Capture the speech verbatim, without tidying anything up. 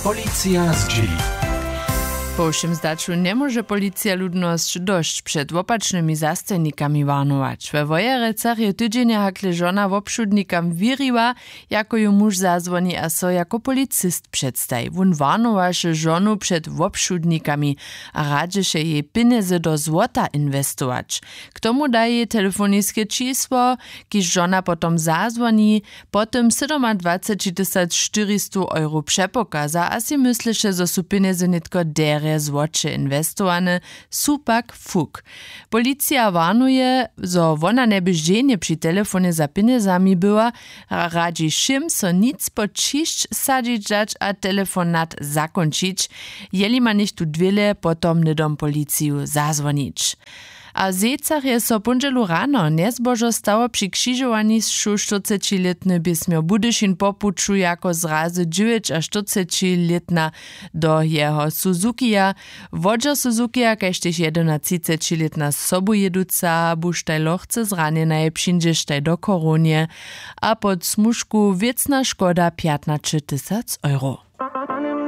Policija zdźěli. Po wšěm zdaću njemóže policija ludnosć dosć před wopačnymi zastajnikami warnować. We wojerecach je tydźenje hakle žona wobšudnikam wěriła, jako ju muž zazwoni a so jako policist předstaji. Wón warnowaše žonu před wobšudnikami a radźeše jej pjenjezy do złota inwestować. K tomu da jej telefoniske čisło, kiž žona potom zazwoni, po tym sydomadwacećitysac štyristu euro přepokaza a sej mysleše, zo su pjenjezy nětko derje złoće inwestowane, su pak fuk. Policija warnuje, zo wona njeby ženje při telefonje za pjenjezami była, a radźi wšěm, so nic pod ćišć sadźić dać a telefonat zakónčić. Jeli ma něchtó dwěle, potom hnydom policiju zazwonić. A w zejcach je so póndźelu rano njezbožo stało při křižowanišću štyrcećilětny běsmjo budyšin po puću jako zrazy dźewjećaštyrcećilětna do jeho suzukija. Wodźer suzukija kaž tež jedenatřicećilětna sobujěduca buštaj lochce zranjenaje přińdźeštaj do chorownje a pod smužku wěcna škoda pjatnaćetysac euro.